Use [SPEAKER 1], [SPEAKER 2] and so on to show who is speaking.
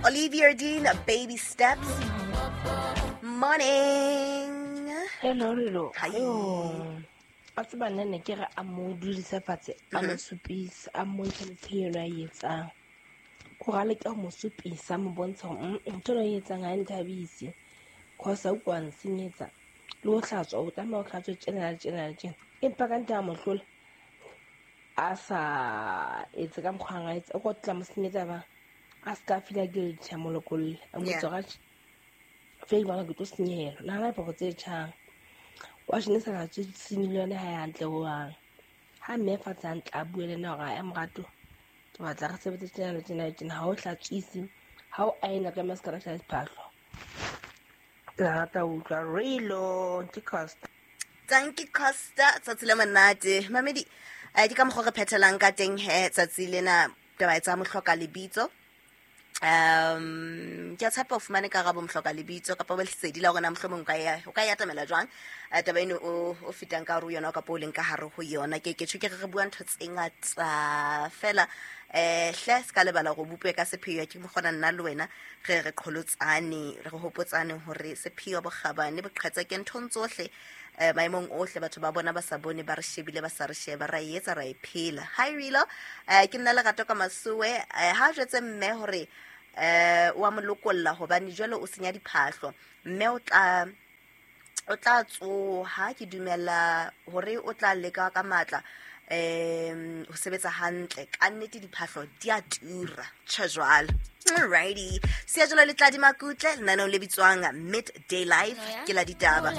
[SPEAKER 1] Olivia Dean, Baby Steps. Morning.
[SPEAKER 2] Hello, Lelo.
[SPEAKER 1] Hi.
[SPEAKER 2] A tseba nna ne ke re a mo dudise fatshe, a mo supisa, a mmontshe le tshenyelo a e etsang. Kore a leke ho mo supisa, a mo bontshe hore ntho ena o e etsang ha e nthabise. Cause ha o kwa nsenyetsa. Le ho hlatswa, o tlameha o hlatswe tjena le tjena le tjena. Empa ka ntle a mo hlola, a sa etse ka mokgwa a etsa, o ka tla mo senyetsa bang. A ska feel guilty, a mo lokolle. A mo
[SPEAKER 1] Yeah.
[SPEAKER 2] botse hore atjhe, fela ke bona ke tlo senyehelwa. Nahana diphahlo tse tjhang. Washene e sa hlatswe senyehile yona ha e hantle hohang. Ha mme fatshe hantle a bue le nna hore ae morato, ke batla re sebetse tjena le tjena le tjena. Ha o hlatswise, ha o aena ka se ka lahlela diphahlo. Ke rata ho utlwa Relo, ke Costa.
[SPEAKER 1] Tanki Costa, tsatsi le monate. Mamedi, ke ka mokgwa re phethelang ka teng he tsatsi lena taba e tsa mohloka lebitso. Ke a tshepa o fumane karabo mohloka lebitso kapa ba lesedi la hore na mohlomong o ka e atamela jwang. Taba eno o fetang ka hare ho yona kapa o leng ka hare ho yona. Ke tjho ke re re bua ntho tse ngata fela. Hle se ka lebala hore o bopue ka sepheo, ke mokgona nna le wena re re qholotsane, re hopotsane hore sepheo bokgabane boqhetseke ke nthong tsohle. Maemong ohle batho ba bona ba sa bone, ba re shebile, ba sa re sheba, ra e etsa, ra e phela. Hi Relo, ke nna Lerato ka Masowe. Ha jwetse mme hore wa mo lokolla hobane jwale o senya diphahlo. Mme o tla tsoha, ke dumela hore o tla leka ka matla ho sebetsa hantle. Ka nnete diphahlo di a tura. Tjhe jwalo. Alrighty. Siya jwalo le Tladi Makutle, lenaneong le bitswang Midday Live, ke la ditaba.